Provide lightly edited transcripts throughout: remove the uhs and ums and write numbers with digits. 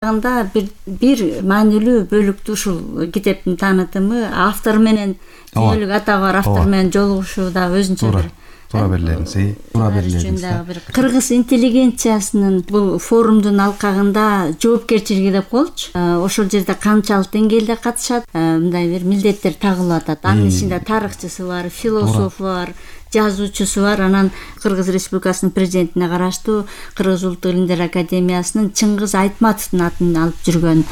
бир маанилүү бөлүктү ушул китептин таанытымы автор менен дүйнөлүк атагы бар автор менен жолугушуу да өзүнчө бир туура берилерибиз. Кыргыз интеллигенциясынын бул форумдун алкагында жоопкерчилиги деп коелучу. Ошол жерде канчалык деңгээлде катышат, мындай бир милдеттер тагылып атат. Анын ичинде тарыхчысы бар, философу бар, жазуучусу бар. Анан Кыргыз Республикасынын президентине караштуу Кыргыз Улуттук Илимдер Академиясынын Чыңгыз Айтматовдун атын алып жүргөн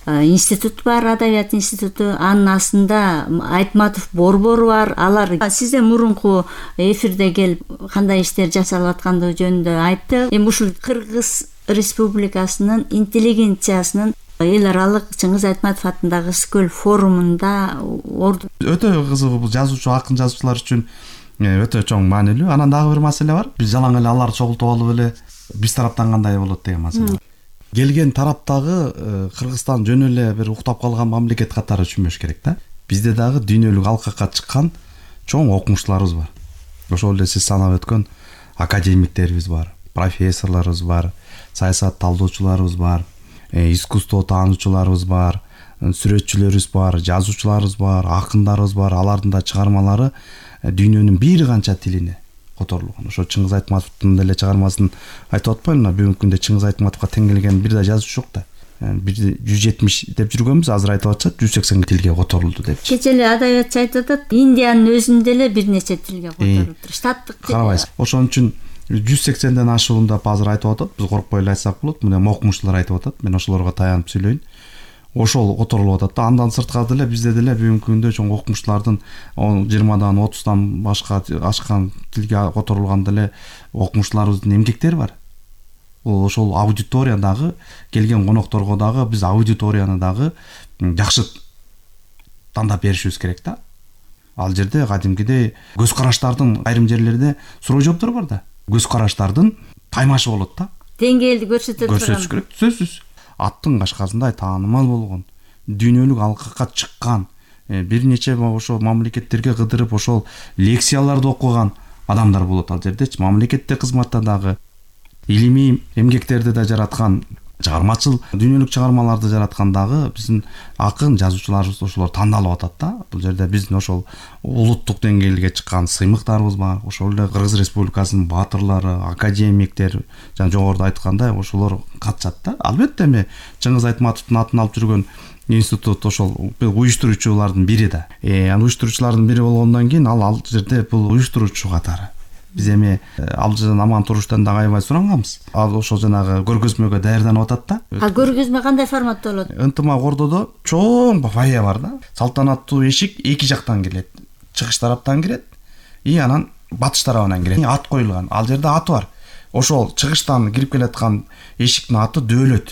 институт бар, адабият институту. Анын астында Айтматов борбору бар. Алар сизде мурунку эфирде келип кандай иштер жасалып аткандыгы жөнүндө айтты. Эми ушул Кыргыз Республикасынын интеллигенциясынын эл аралык Чыңгыз Айтматов атындагы Ысык-көл форумунда өтө кызыгуу. Бул жазуучу, акын жазуучулар үчүн өтө чоң маанилүү. Анан дагы бир маселе бар. Биз жалаң эле аларды чогултуп алып эле биз тараптан кандай болот деген маселе. Келген тараптагы Кыргызстан жөн эле бир уктап калган мамлекет катары түшүнбөш керек да. Бизде дагы дүйнөлүк алкакка чыккан чоң окумуштууларыбыз бар. Ошол эле сиз санап өткөн академиктерибиз бар, профессорлорубуз бар, саясат талдоочуларыбыз бар, искусство таануучуларыбыз бар, сүрөтчүлөрүбүз бар, жазуучуларыбыз бар, акындарыбыз бар. Алардын да чыгармалары дүйнөнүн бир канча тилине которулган. Ошо Чыңгыз Айтматовдун деле чыгармасын айтып атпаймынбы? Бүгүнкү күндө Чыңгыз Айтматовго тең келген бир да жазуучу жок да. 170 деп жүргөнбүз, азыр айтып атышат 180 тилге которулду деп. Кече эле адабиятчы айтып атат, Индиянын өзүндө эле бир нече тилге которулуптур. Штаттык тил. Карабайсыз. Ошон үчүн 180ден ашуун деп азыр айтып атат. Биз коркпой эле айтсак болот. Мына окумуштуулар айтып атат. Мен ошолорго таянып сөйлөйүн. Ошол которулуп атат да. Андан сырткары деле бизде деле бүгүнкү күндө чоң окумуштуулардын 20дан 30дан башка ашкан тилге которулган деле окумуштууларыбыздын эмгектери бар. Ошол аудиториядагы келген конокторго дагы биз аудиторияны дагы жакшы тандап беришибиз керек да. Ал жерде кадимкидей көз караштардын айрым жерлерде суроо жооптор бар да. Көз караштардын таймашы болот да. Деңгээлди көрсөтүп керек. Сөзсүз. Аттын кашкасындай таанымал болгон, дүйнөлүк алкакка чыккан, бир нече ошол мамлекеттерге кыдырып ошол лекцияларды окуган адамдар болот ал жердечи. Мамлекетте кызматта дагы илимий эмгектерди да жараткан, чыгармачыл дүйнөлүк чыгармаларды жараткан дагы биздин акын жазуучуларыбыз ошолор тандалып атат да. Бул жерде биздин ошол улуттук деңгээлге чыккан сыймыктарыбыз бар. Ошол эле Кыргыз Республикасынын баатырлары, академиктер, жана жогоруда айткандай ошолор катышат да. Албетте эми Чыңгыз Айтматовдун атын алып жүргөн институт ошол уюштуруучулардын бири да. Анан уюштуруучулардын бири болгондон кийин ал жерде бул уюштуруучу катары. Биз эми ал жерден аман туруштан дагы аябай суранганбыз. Ал ошол жанагы көргөзмөгө даярданып атат да. Ал көргөзмө кандай форматта болот? Ынтымак ордодо чоң фойе бар да. Салтанаттуу эшик эки жактан кирет. Чыгыш тараптан кирет, анан батыш тарабынан кирет. Ат коюлган. Ал жерде аты бар. Ошол чыгыштан кирип келаткан эшиктин аты Дөөлөт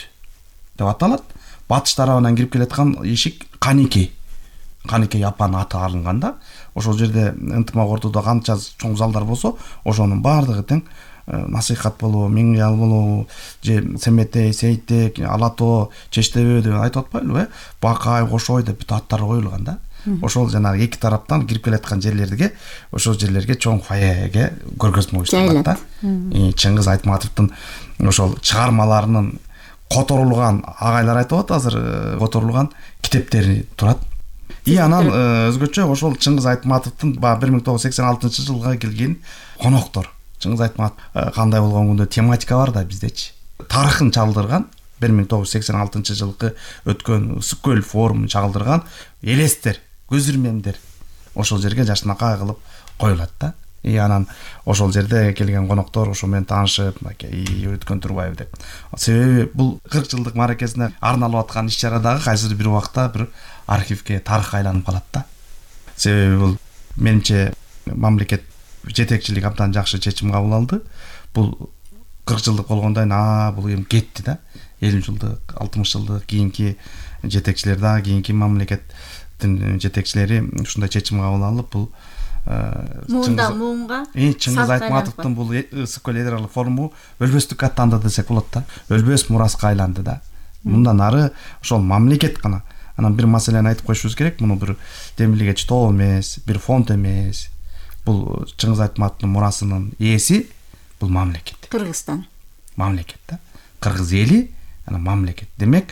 деп аталат. Батыш тарабынан кирип келаткан эшик Каникей апанын аты алынган да. Ошол жерде ынтымак ордодо канча чоң залдар болсо, ошонун баардыгы тең насыйхат болобу, Миңял болобу, же Семетей, Сейтек, Алатоо, Чештебе деп айтып атпайлыбы? Бакай, Кошой деп бүт аттар коюлган да. Ошол жанагы эки тараптан кирип келаткан жерлерге, ошол жерлерге чоң фойеге көргөзмө уюштурулат да. Чыңгыз Айтматовдун ошол чыгармаларынын которулган, агайлар айтып атат азыр, которулган китептери турат. Анан өзгөчө ошол Чыңгыз Айтматовдун 1986-жылга келген коноктор. Чыңгыз Айтматов кандай болгондо тематика бар да биздечи. Тарыхын чалдырган 1986-жылкы өткөн Ысык-көл форумун чагылдырган элестер, көз ирмемдер ошол жерге жашынакай кылып коюлат да. Анан ошол жерде келген коноктор ошо менен таанышып, өткөн турбайбы деп. Себеби бул 40 жылдык мааракесине арналып аткан иш-чара дагы кайсыр бир убакта бир архивге, тарыхка айланып калат да. Себеби бул менимче мамлекет жетекчилиги абдан жакшы чечим кабыл алды. Бул 40 жылдык болгондон кийин бул эми кетти да. 50 жылдык, 60 жылдык кийинки жетекчилер дагы, кийинки мамлекеттин жетекчилери ушундай чечим кабыл алып, бул муунга Чыңгыз Айтматовдун бул Ысык-көл эл аралык форуму өлбөстүккө аттанды десек болот да. Өлбөс мураска айланды да. Мындан ары ошол мамлекет гана. Анан бир маселени айтып коюшубуз керек. Муну бир демилге чтоо эмес, бир фонд эмес. Бул Чыңгыз Айтматовдун мурасынын ээси бул мамлекет. Кыргызстан. Мамлекет да. Кыргыз эли анан мамлекет демек